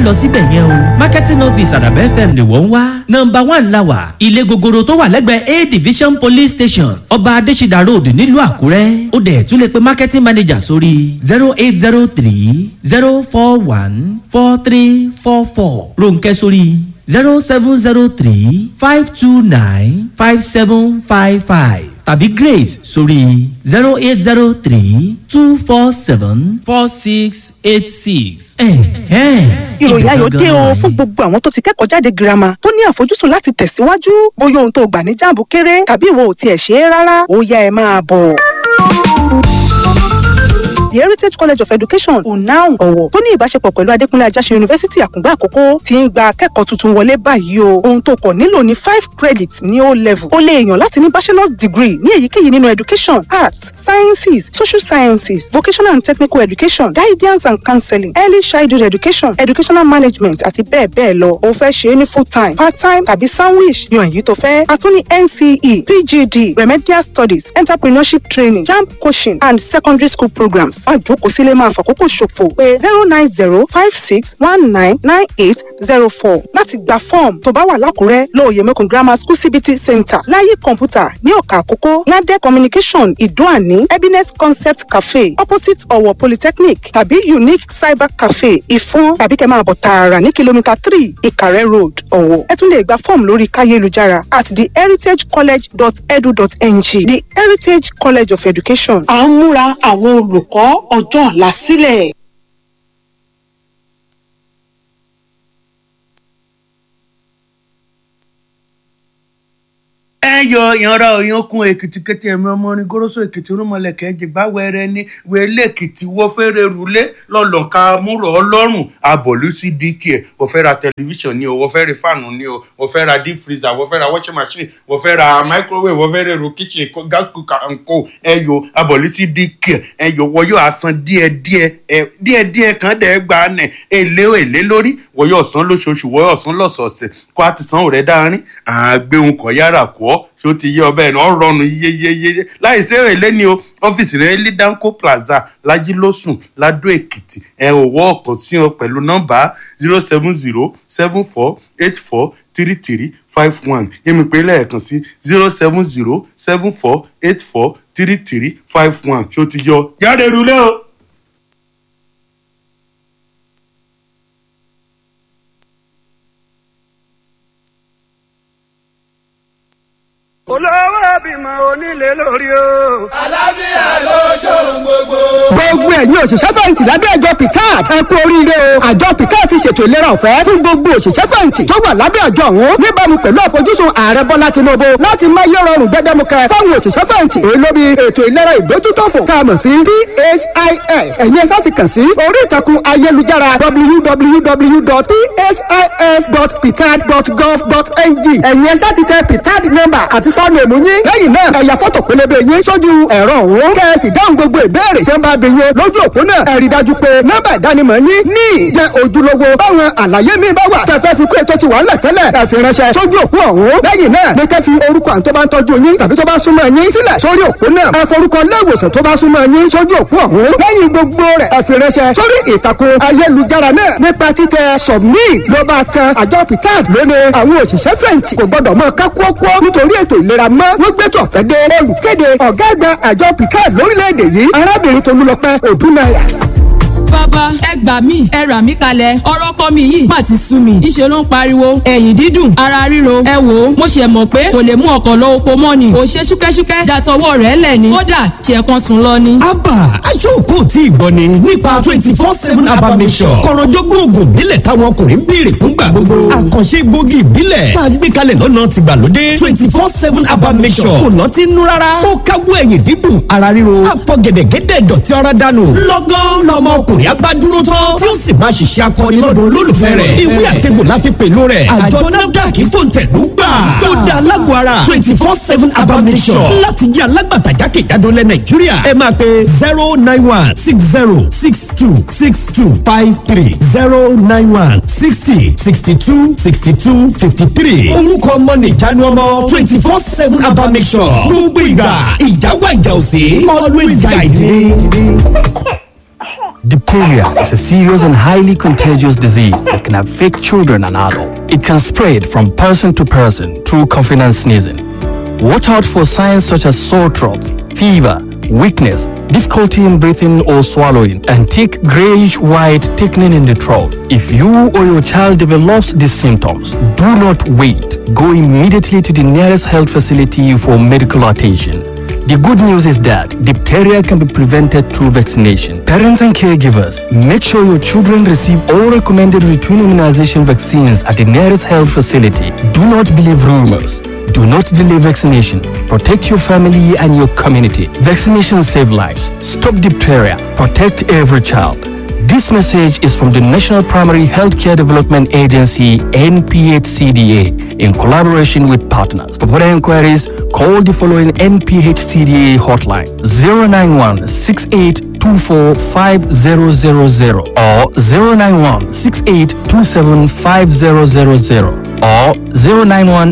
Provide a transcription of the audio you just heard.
lọ síbẹ̀ yẹn o. Marketing office Àdàbà FM ni wọ́n ń wá. Nọmba 1 la wà. Ilé gogoro tó wà lẹ́gbẹ̀ẹ́ A Division Police Station, Ọba Adésídà Road nílùú Àkúrẹ́. Ó dẹ̀ tún lè pe marketing manager sórí 08030414344. Rónkẹ́ sórí 07035295755 tàbí Grace sórí 08032474686. Ìròyìn ayọ̀ dé o fún gbogbo àwọn tó ti kẹ́kọ̀ọ́ jáde girama tó ní àfojúsùn láti tẹ̀síwájú. Bóyá ohun tó gbà ní JAMB kéré tàbí ìwọ ò tiẹ̀ ṣe é rárá, ó yá, ẹ máa bọ̀. The Heritage College of Education, UNAUN Ọ̀wọ̀, tó ní ìbáṣepọ̀ pẹ̀lú Adékúnlé Ajáṣin University Àkùngbá Àkókó, ti ń gba akẹ́kọ̀ọ́ tuntun wọlé báyìí o. Ohun tó kọ̀ nílò ní 5 credits ní O level. O lè yàn láti ní bachelor's degree ní èyíkéyìí nínú education, arts, sciences, social sciences, vocational and technical education, guidance and counseling, early childhood education, educational management àti bẹ́ẹ̀ bẹ́ẹ̀ lọ. O fẹ́ ṣe é ní full time, part time tàbí sandwich, yan èyí tó fẹ́. A tún ní NCE, PGD, remedial studies, entrepreneurship training, JAMB coaching and secondary school programs. Má jókòó sílé máa fàkókò ṣòfò. Pé 09056199804 láti gba fọ́ọ̀mù. Tó bá wà lákùrẹ́, lóòyè Mẹ́kùn Grammar School CBT Center, Láyé Kọ̀ǹpútà ní Ọ̀kà Àkókó, Nade Communication Ìdóàní, Happiness Concept Cafe opposite Ọ̀wọ̀ Polytechnic tàbí Unique Cyber Cafe Ìfọ́n, tàbí kẹ́ máa bọ̀ tààrà ní kìlómítà 3 Ìkàrẹ́ Road, Ọ̀wọ̀. Ẹ tún lè gba fọ́ọ̀mù lórí káyélujára at theheritagecollege.edu.ng. The Heritage College of Education. À ń múra àwọn olùkọ́ ọjọ́ ọ̀la sílẹ̀. Ẹ yọ ìyanra òyìnkùn Èkìtì kété, ẹ̀mí ọmọ orin goroso Èkìtì, rúmọlẹ̀kẹ́ jìgbà wẹrẹ ní wẹlé Èkìtì. Wọ́n fẹ́rẹ̀ rúlé lọ́lọ́ka múrò ọlọ́run abọ̀lú sí dk ẹ̀. Wọ́n fẹ́ ra tẹlifíṣàn ni o, wọ́n fẹ́ ra fáànù ni o, wọ́n fẹ́ ra deep freezer, wọ́n fẹ́ ra washing machine, wọ́n fẹ́ ra microwave, wọ́n fẹ́ ra èrò kitchen, gas cooker and co. Ẹ yọ abọ̀lú sí dk. Ẹ yọ wọ́n yóò asan díẹ̀díẹ̀, ẹ díẹ̀díẹ̀ kan dẹ̀ gba nẹ̀ èlé èlé lórí. Wọ́n yóò san lóṣooṣù, wọ́n yóò san lọ́sọ̀ọ̀sẹ̀ kó a ti san òrẹ́ dáárín àgbéhùn kọ̀ yára kọ́. Ṣó ti yé ọbẹ̀ náà rọrùn yeyeyeye láì sí èrè ní o. Ọ́fíìsì rẹ̀ ní Danco Plaza, Lajilósùn, Ladó Èkìtì. Ẹ ò wọ́ ọ̀kan sí ọ pẹ̀lú nọ́mbà 07074843351. Yẹ́mi pé lẹ́ẹ̀kan sí 07074843351. Ṣó ti yọ jáde rúlé o. Olówó bímọ onílé lórí o. Àlàáfíà lójó gbogbo. Gbogbo ẹ̀yin òṣìṣẹ́ fẹ̀yìntì lábẹ́ àjọ PTAD, ẹ kú oríire o. Àjọ PTAD ti ṣètò ìlera ọ̀fẹ́ fún gbogbo òṣìṣẹ́ fẹ̀yìntì tó wà lábẹ́ àjọ ọ̀hún, níbàámu pẹ̀lú àfojúsùn Ààrẹ Bọ́lá Tinubu láti má yẹ rọrùn gbẹdẹmukẹ fáwọn òṣìṣẹ́ fẹ̀yìntì. Èyí ló bí ètò ìlera ìdójútòfò tá a mọ̀ sí PHIS. Ẹ̀yin ẹ ṣáà ti kàn sí orí ìtàkùn ayélujára www.phis.ptad.gov.ng. Ẹ̀yin ẹ ṣáà ti tẹ PTAD number àti sọ́ọ̀nù èmú yín. Lẹ́yìn náà, ẹ ya fọ́tò pélébé yín sójú ẹ̀rọ ọ̀hún, kẹ́ ẹ sì dáhùn gbogbo ìbéèrè tí wọ́n bá bi yín lójú òpó náà. Ẹ rí dájú pé nọ́mbà ìdánimọ̀ yín ní jẹ́ ojúlówó. Báwọn àlàyé mi bá wà tẹ̀fẹ́ fi kó ètò ti wà ńlẹ̀ tẹ́lẹ̀, ẹ fi ránṣẹ́ sójú òpó ọ̀hún. Lẹ́yìn náà ní kẹ́ fi orúkọ àwọn tó bá ń tọ́jú yín tàbí tó bá súnmọ́ yín sílẹ̀ sórí òpó náà. Ẹ forúkọ iléèwòsàn tó bá súnmọ́ yín sójú òpó ọ̀hún. Lẹ́yìn gbogbo rẹ̀, ẹ fi ránṣẹ́ sórí ìtàkùn ayélujára náà nípa títẹ submit ló bá tan. Àjọ PTAD lónìí, àwọn òṣìṣẹ́ fẹ̀yìntì kò gbọ́dọ̀ mọ kákúọ́kọ́ nítorí ètò ìlera mọ́. Wọ́n gbé tó ọ̀fẹ́ dé. Olùkéde, ọ̀gá àgbà àjọ PTAD lórílẹ̀‐èdè yìí, arábìnrin Tolúlọpẹ́ Òdúnnáyà. Bàbá, ẹ gbà mí, ẹ rà mí kalẹ̀. Ọ̀rọ̀ ọkọ mi yìí má ti sú mi. Ìṣe ló ń pariwo, ẹ̀yìn dídùn, ara ríro. Ẹ wò ó, mo ṣe mọ̀ pé kò lè mú ọkọ̀ lọ oko mọ́ ni. Kò ṣe ṣúkẹ́ṣúkẹ́ dàtọwọ́ rẹ̀ lẹ̀ ni. Kódà ṣe kan sùn lọ ni. Abba aṣọ́ọ̀kọ́ tí ìgbọ́ ni nípa 24/7 Abba Mixture, kọ̀rọ̀jọ́gbọ́n oògùn ìbílẹ̀ táwọn ọkùnrin ń béèrè fúngbà gbogbo, àkànṣe gbòógì ìbílẹ̀ tá a gbé kalẹ̀ lọ́nà tìgbàlódé. 24/7 Abba Mixture kò lọ́tí nú rárá. Ó káwọ́ ẹ̀yìn dídùn, ara ríro, àfọ̀gẹ̀dẹ̀gẹ̀dẹ̀ dọ̀tí ara dànù. Lọ́gán lọmọ ọkùnrin abádúró tán tí ó sì máa ṣiṣẹ́ akọni lọ́dọ̀ olólùfẹ́ rẹ̀. Ìwé àtẹ̀gbò la fi pèlò rẹ̀. Àjọ NAFDAC fòǹtẹ̀lú gbà. Ó da alágọ̀ ara 24/7 Abba Mixture láti jẹ́ alágbàtà jákèjádò lẹ̀ Nàìjíríà. Ẹ máa pe 09160626253, 09160626253. Orúkọ ọmọ nìjánu ọmọ 24/7 Abba Mixture. Gbogbo ìgbà ìjà wà, ìjà òsè, always guide me. Diphtheria is a serious and highly contagious disease that can affect children and adults. It can spread from person to person through coughing and sneezing. Watch out for signs such as sore throat, fever, weakness, difficulty in breathing or swallowing, and thick grayish-white thickening in the throat. If you or your child develops these symptoms, do not wait. Go immediately to the nearest health facility for medical attention. The good news is that diphtheria can be prevented through vaccination. Parents and caregivers, make sure your children receive all recommended routine immunization vaccines at the nearest health facility. Do not believe rumors. Do not delay vaccination. Protect your family and your community. Vaccination save lives. Stop diphtheria. Protect every child. This message is from the National Primary Healthcare Development Agency, NPHCDA, in collaboration with partners. For further inquiries, call the following NPHCDA hotline 091 6824 5000 or 091 6827 5000 or 091